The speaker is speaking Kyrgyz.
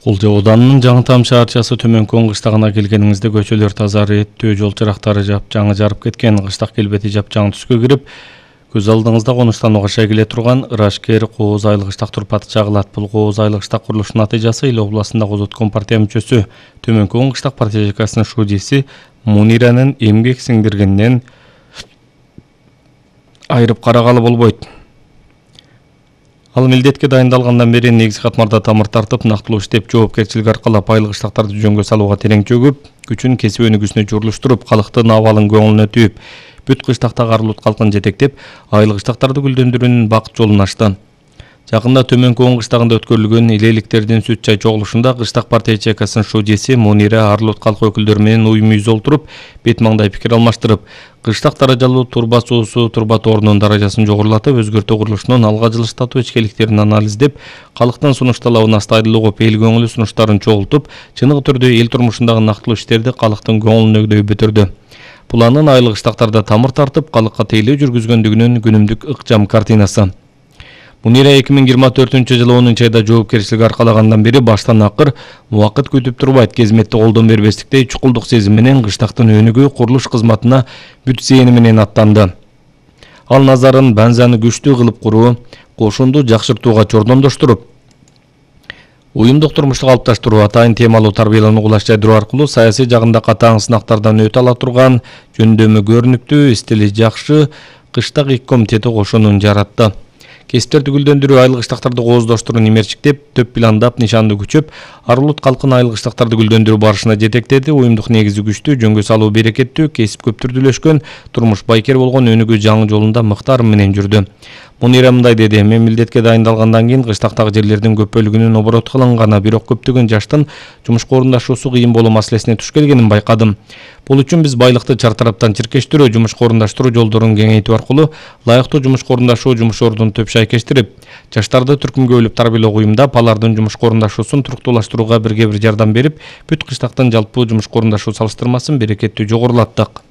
Кулжа Оданынын Жаңы Там шаарчасы Төмөнкү кыштагына келгениңизде көчөлөр таза, реттүү, жол чырактары жапжаңы жарып кеткен, кыштак келбети жапжаң түскө кирип, көз алдыңызда конуштанууга шегиле турган Ырашкер Кооз айлык кыштак турпаты чагылат. Бул Кооз айлык кыштак курулушунун натыйжасы Ил областында Козоткон партия мүчөсү, Төмөнкү кыштак партия ЖКсынын шудиси Муниранын эмгек сиңдиргенинен айырып карагалы болбойт. Ал милдетке дайындалгандан бери негизги катмарда тамыр тартып, нактылуу иштеп, жоопкерчилик аркалап айлык кыштактарды жөнгө салууга терең чөгүп, күчүн кесип өнүгүүсүнө журулуштуруп, калктын абалын көңүлүнө түйүп, бүт кыштактагы арылут калкын жетектеп, айлык кыштактарды гүлдөндүрүүнүн бакыт жолун ачты. Жакында Төмөнкү кыштагында өткөрүлгөн элеликтердин сүт чай чогулушунда кыштак партия ЖКсынын шудиси Мунира арылут калк өкүлдөрү менен уюм үз олтуруп, бет маңдай пикир алмаштырып, кыштак даражалуу турба суусу, турба тоорунун даражасын жогорулатып, өзгөртүү курулушунун алга жылыштатуу ичкиликтерин анализдеп, калктын сунуш талабын астайдыл угуп, эл көңүлү сунуштарын чогултуп, чыныгы түрдө эл турмушундагы нактылуу иштерди калктын көңүлүнө бүтүрдү. Бул анын айлык кыштактарда тамыр тартып, калкка тейлөө жүргүзгөндүгүнүн күнүмдүк ыкчам картинасы. Мунира 2024-жылы 10-айда жоопкерчилик аркалагандан бери баштан акыр убакыт күтүп турбайт, кезметти колдон бербестиктей чукулдук сезим менен кыштактын өнүгүү курулуш кызматына бүт зээни менен аттанды. Ал назарын бензаны күчтүү кылып куруу, кошунду жакшыртууга чордондоштуруп, уюмдук турмушту калыпташтыруу, атайын темалуу тарбиялоону кулаш жайдыруу аркылуу саясий жагында катаң сынактардан өтө ала турган, жөндөмү көрүнүктүү, стили жакшы кыштак ик комитети кошунун жаратты. Кесиптерди гүлдөндүрүү, айлык кыштактарды кооздоштуруу немерчиктеп, төп пландап, нишанды күчөп, арылут калкын айлык кыштактарды гүлдөндүрүү барышына жетектеди. Уюмдук негизи күчтүү, жөнгө салуу берекеттүү, кесип көп түрдүүлөшкөн, турмуш байкер болгон өнүгүү жаңы жолунда мыктарым менен жүрдү. Мунира мындай деди: мен милдетке дайындалгандан кийин кыштактагы жерлердин көп бөлүгүнүн оборот кылынганы, бирок көптөгөн жаштын жумушка орундашуусу кыйын болуу маселесине туш келгенин байкадым. Бул үчүн биз байлыкты чартараптан чиркештирүү, жумушка орундаштыруу жолдорун кеңейтүү аркылуу лайыктуу жумушка орундашуу, жумуш ордун төп шайкештирип, жаштарды түркүмгө бөлүп тарбиялоо уюмдап, алардын жумушка орундашуусун туруктуулаштырууга бирге бир жардам берип, бүт кыштактын жалпы жумушка орундашуу салыштырмасын берекеттүү жогорулаттык.